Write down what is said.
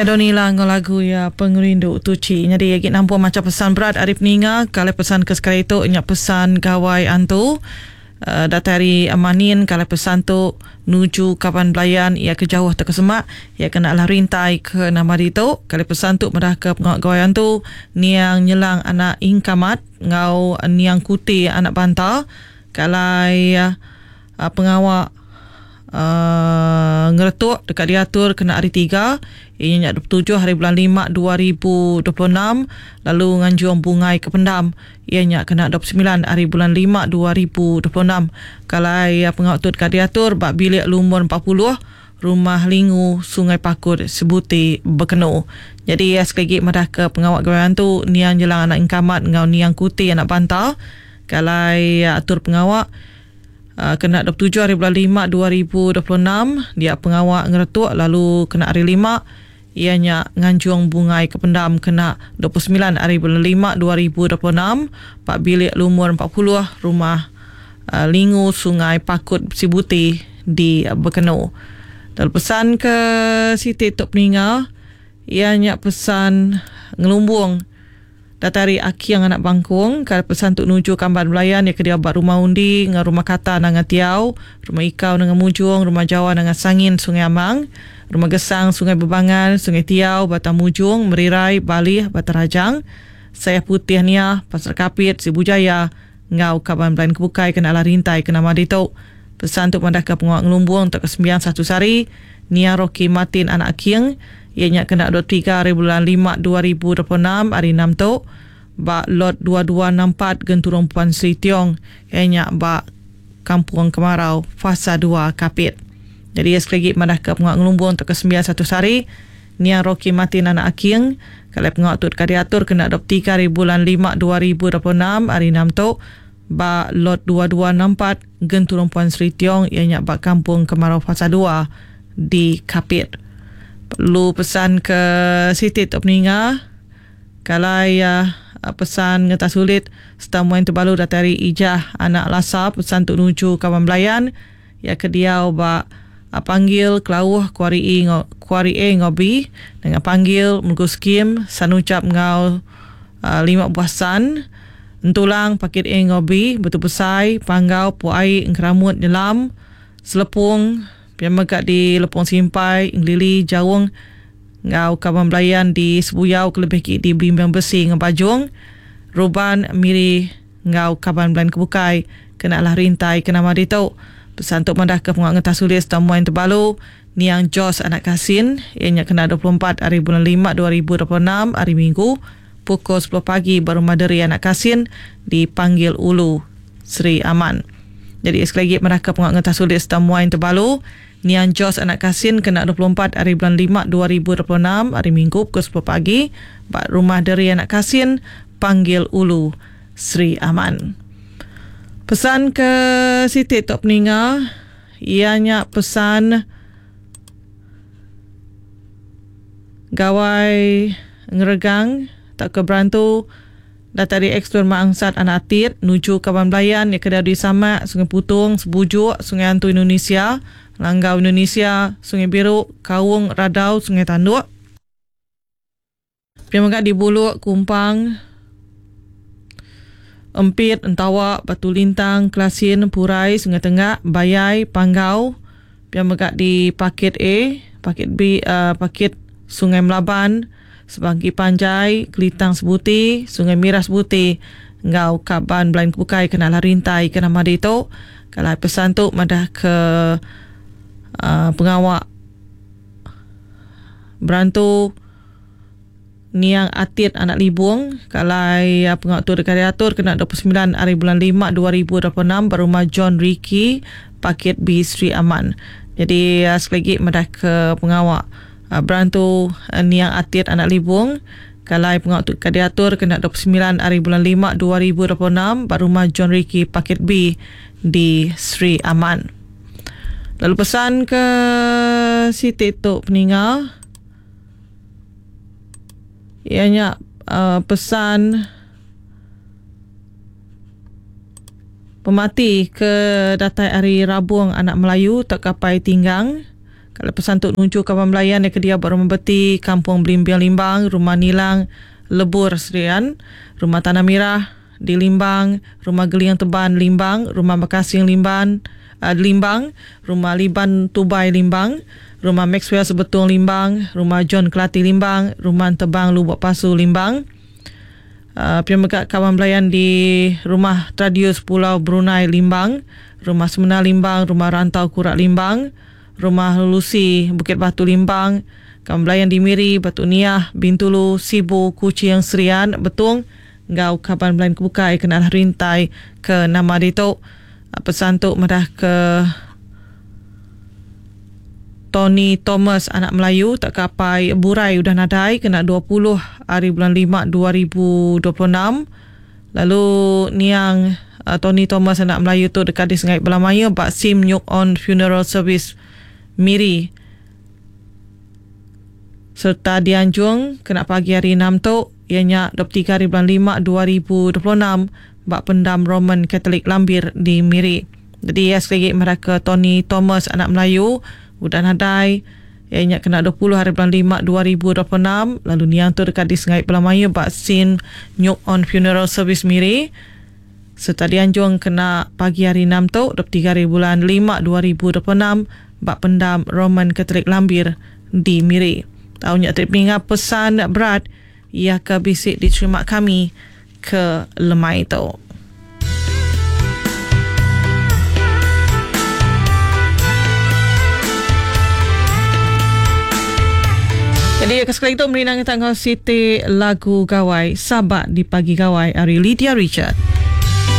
Nya Donila enggau lagu iya Pengerindu Tuchi. Nyadi agi nampung macha pesan berat ari peninga kalai pesan ke sekali tu nya pesan Gawai Antu. Uh, datai ari Manin kalai pesan tu nuju kaban belayan iya ke jauh tauka semak iya kena alah rintai ke nama ditu. Kalai pesan tu madah ke pengawa Gawai Antu niang nyelang anak Ingkamat enggau niang Kuti anak Banta kalai uh, Pengawa ngeretuk deka diatur kena Hari Tiga, iya nya 27 hari bulan lima 2026 lalu nganjung bungai ke pendam iya nya kena 29 hari bulan lima 2026. Kalai pengawa tu deka diatur ba bilik lumur 40 Rumah Lingu, Sungai Pakut, Sibuti, Bekenu. Nyadi sekali agi madahka pengawa Gawai Antu niang Jelang anak Engkamat enggau niang Kuti anak Banta kalai atur pengawa Kena 27 hari bulan lima 2026 dia pengawa ngeretuk lalu kena hari lima iya nya nganjung bungai ke pendam kena 29 hari bulan lima 2026 ba bilik lumur 40 Rumah Lingu Sungai Pakut Sibuti di Bekenu. Lalu pesan ke siti tu peninga iya nya pesan ngelumbung. Datai ari Aking anak Bangkung, ka pesan tu nuju Kamban Belayan iya ke diau ba Rumah Undi enggau Rumah Kata Nanga Tiau, Rumah Ikau Nanga Mujong, Rumah Jawa Nanga Sangin Sungai Amang, Rumah Gesang Sungai Bebangan, Sungai Tiau, Batang Mujong, Merirai, Balih, Batang Rajang, Sayah Putih Niah, Pasar Kapit, Sibu Jaya enggau kaban belayan ke bukai ke enda alah rintai ke nama ditu. Pesan tu madahka pengawa ngelumbung tauka sembiang satu sehari Nia Rocky Martin anak Aking iya nya kena 23 hari bulan lima 2026 hari enam tu ba Lot 2264 Genturung Puan Sri Tiong iya nya ba Kampung Kemarau Fasa dua Kapit. Nyadi iya sekali agi madahka pengawa ngelumbung tauka sembiang satu sehari Nia Rocky Martin anak Aking kelai pengawa tu deka diatur kena 23 hari bulan lima 2026 hari enam tu ba Lot 2264 Genturung Puan Sri Tiong iya nya ba Kampung Kemarau Fasa dua di Kapit. Perlu pesan ke siti tu peninga kalai iya pesan ngetas ulit serta muai tebalu datai ari Ijah anak Lasa pesan tu nuju kaban belayan iya ke diau ba Panggil Kelauh Kuari E enggau Kuari A enggau B dengan Panggil Megu Skim San Ucap enggau lima buah san Entulang Pakit A enggau B Betu Besai Panggau Puak Ai Engkeramut Nyelam Selepong pia mega di Lepong Simpai Engelili Jaung enggau kaban belayan di Sebuyau kelebih agi di Belimbing Besi enggau Bajong Ruban Miri enggau kaban belayan ke bukai kena alah rintai ke nama ditu. Pesan tu madahka pengawa ngetas ulis Tamuan Tebalu Niang Jos anak Kasin iya nya kena 24 hari bulan lima 2026 hari Minggu pukul sepuluh pagi ba Rumah Deri anak Kasin di Panggil Ulu, Sri Aman. Nyadi sekali agi madahka pengawa ngetas ulis Tamuan Tebalu Niang Jos anak Kasin kena 24 hari bulan lima 2026 hari Minggu pukul sepuluh pagi ba Rumah Deri anak Kasin, Panggil Ulu, Sri Aman. Pesan ke siti tu peninga iya nya pesan Gawai ngeregang tauka berantu datai ari ex-Tuan Mak Angsat anak Atit nuju kaban belayan iya ke diau di Samak, Sungai Putong, Sebujuk, Sungai Antu Indonesia, Langgau Indonesia, Sungai Biru, Kaung, Radau, Sungai Tanduk. Pia mega di Buluk, Kumpang, Empit, Entawa, Batu Lintang, Kelasin, Purai, Sungai Tengak, Bayai, Panggau, pia mega di Pakit A, Pakit B, uh, Pakit Sungai Melaban, Sebangki Panjai, Kelitang Sebuti, Sungai Mirah Sebuti enggau kaban belain ke bukai kena alah rintai ke nama ditu. Kalai pesan tu madah ke uh, pengawa berantu Niang Atit anak Libung ke alai pengawa tu deka diatur kena 29 ari bulan lima 2026 ba Rumah John Ricky, Pakit B Sri Aman. Nyadi sekali agi madah ke pengawa berantu Niang Atit anak Libung ke alai pengawa tu deka diatur kena 29 ari bulan lima 2026 ba Rumah John Ricky, Pakit B di Sri Aman. Lalu pesan ke siti tu peninga. Iya nya pesan pemati ke datai ari Rabung anak Melayu tauka Pai Tinggang. Kalau pesan tu nuju kaban belayan iya ke diau ba Rumah Beti, Kampung Belimbing Limbang, Rumah Nilang, Lebur Serian, Rumah Tanah Mirah di Limbang, Rumah Geling Teban Limbang, Rumah Bekasing Limban Limbang, Rumah Liban Tubai Limbang, Rumah Maxwell Sebetung Limbang, Rumah John Kelati Limbang, Rumah Tebang Lubok Pasu Limbang. Pia mega kaban belayan di Rumah Tradius Pulau Brunei Limbang, Rumah Semena Limbang, Rumah Rantau Kurak Limbang, Rumah Lucy Bukit Batu Limbang, kaban belayan di Miri, Batu Niah, Bintulu, Sibu, Kuching, Serian, Betong enggau kaban belayan ke bukai kena alah rintai ke nama ditu. Pesan tu madah ke Tony Thomas anak Melayu tauka apai Burai udah nadai kena 20 ari bulan lima 2026 lalu niang Tony Thomas anak Melayu tu deka disengai bala mayuh ba Sim Nyuk On Funeral Service Miri sereta dianjung kena pagi hari enam tu iya nya 23 ari bulan lima 2026 ba Pendam Roman Katolik Lambir di Miri. Jadi iya sekali agi madahka Tony Thomas anak Melayu udah nadai iya nya kena 20 hari bulan lima 2026 lalu niang tu deka disengai bala mayuh ba Sin Nyuk On Funeral Service Miri sereta dianjung kena pagi hari enam tu 23 hari bulan lima 2026 ba Pendam Roman Katolik Lambir di Miri. Tau nya ti ninga pesan berat iya ke bisi diterima kami ke lemai tu. Jadi ke sekali tu merindang kita enggau siti lagu gawai Sabak di Pagi Gawai ari Lydia Richard.